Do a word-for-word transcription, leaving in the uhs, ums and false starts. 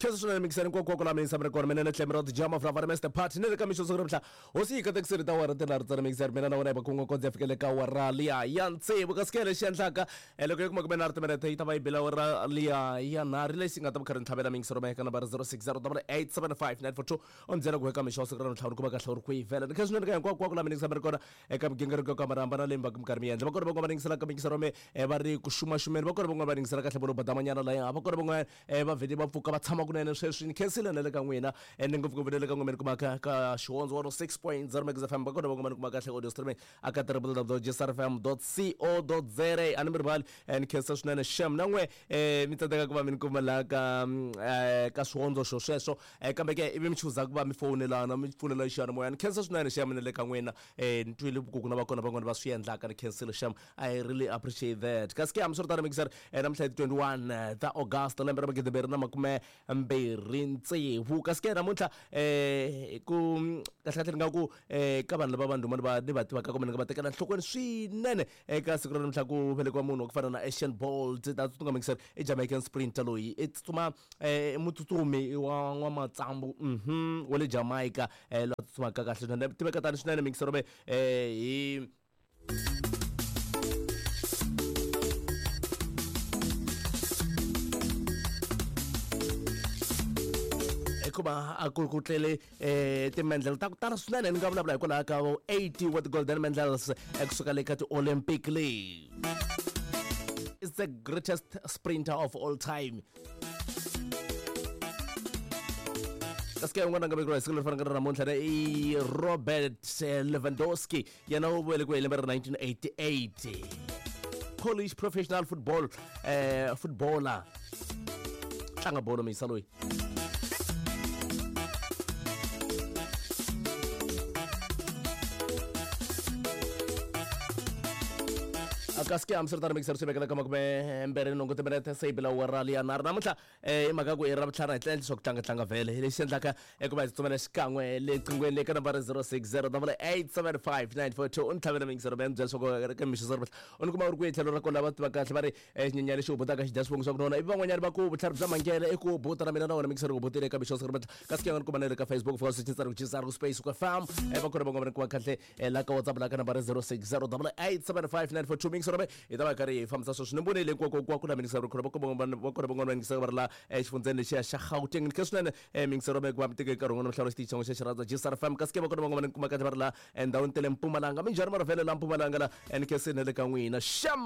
Khensa swinene mikisani nkwakwa la minisa mrekona mina na Clemrod Jama from Mister Party ne le ka mixo siku ra hosi yi katekisile ta wara tinharhu tsana mikisani mina na wena hi va kunga kondza ya fikele ka wara liya ya tsevu kasi ke lexi endlaka loko yi kuma kume nharhu timinete yi ta va yi bela wara liya ya nharhu lexi nga ta va kha ri ntlhavela mingisero ma eka nambara zero six zero double eight seven five nine four two u ni byela ku eka mixo siku ra ntlhanu ku va kahle u ri kwihi vhela ni khensa swinene ka hinkwako la minisa mrekona eka migingiriko yo hambanahambana leyi mi va minkarhi mi endla va kona van'wana va ningisela ka mingisero me va ri ku xumaxumeni va kona van'wana va ningisela kahle vo badamanyana laya va kona van'wana va vhele va pfuka va tshama kunene sweswi ni khensile na le ka n'wina ende ngopfungopfu na le ka n'wina mi kumaka ka Xihondzo one oh six point zero Mega F M va kona van'wana mi kuma kahle audio streaming aka w w w dot j s r f m dot co dot z a a ni mi rivali ni khensa swinene xem na n'we mi tsandzeka ku va mi ni kuma laha ka ka swihondzo xo sweswo kambe ke ivi mi chuza ku va mi fowunelana mi pfunela xiyanimoya ni khensa swinene xem na le ka n'wina ni twile ku na va kona van'wana va swi endlaka ni khensile xem I really appreciate that kasi ke hambiswiritano mixer namuntlha hi twenty-one ta August lembe ra magidi mbirhi na makume mbirhi tsevu kasi ke namuntlha ku kahlekahle ni nga ku ka vanhu lava va ndhuma ni va ni va tivaka kumbe ni nga va tekela nhlokweni swinene eka siku ra namuntlha ku velekiwa munhu wa ku fana na Usain Bolt ta tsutsuma mixer i Jamaican sprinter loyi i tsutsuma mutsutsumi wa n'wamatsambu mhm wa le Jamaica la tsutsumaka kahle swinene tiveka tani swinene mixer ve hi hikuva a ku ku tlele timendlele ta ku tala swinene ni nga vulavula hikwalaho ka eighty wa ti-golden medals kusuka le ka ti-Olympic leyi is the greatest sprinter of all time kasi ke un'wana a nga vekeriwa hi siku leri fanaka na namuntlha i Robert Lewandowski yena u velekiwe hi lembe ra nineteen eighty-eight Polish professional football eh, footballer tlanga bolo misa loyi kasi ke hambiswiritano mixer swi vekela ka makume mbirhi nhungu timinete se yi bila wara liya nharhu namuntlha i mhaka ku i ra vutlhari hi tlela leswaku tlangatlanga vhele lexi endlaka i ku va hi tsutsumela xikan'we le qinghweni le ka nambara zero six zero double eight seven five nine four two u ni tlhavela mixer me ni byela leswaku ka mixo swa u ni kuma u ri kwihi tlhelo ra kona lava tiva kahle va ri xinyenyana lexi hubutaka xi dya swivongo swa ku nona ivi van'wanyana va ku vutlhari bya mangele i ku hubuta na mina na wena mixer ku hubutile eka mixo swa kasi ke nga ni kuma na le ka Facebook fika swi tsari ku jisari ku space ku fam va kona van'wana va ni kuma kahle la ka WhatsApp la ka nambara zero six zero double eight seven five nine four two mixer hi ta va karhi hi fambisa sweswi ni vonile hinkwako ku na mingisero va kona van'wana va yingisaka va ri la exifundzeni lexiya xa Gauteng ni khe swinene mingisero va ku va mi teke nkarhi wun'wana mihlawula xitichi xa xi rhandza J S R F M kasi ke va kona van'wana ni kuma kahle va ri la endhawini ta le Mpumalanga minjhani marivhele la Mpumalanga la ni khe se na le ka n'wina xam.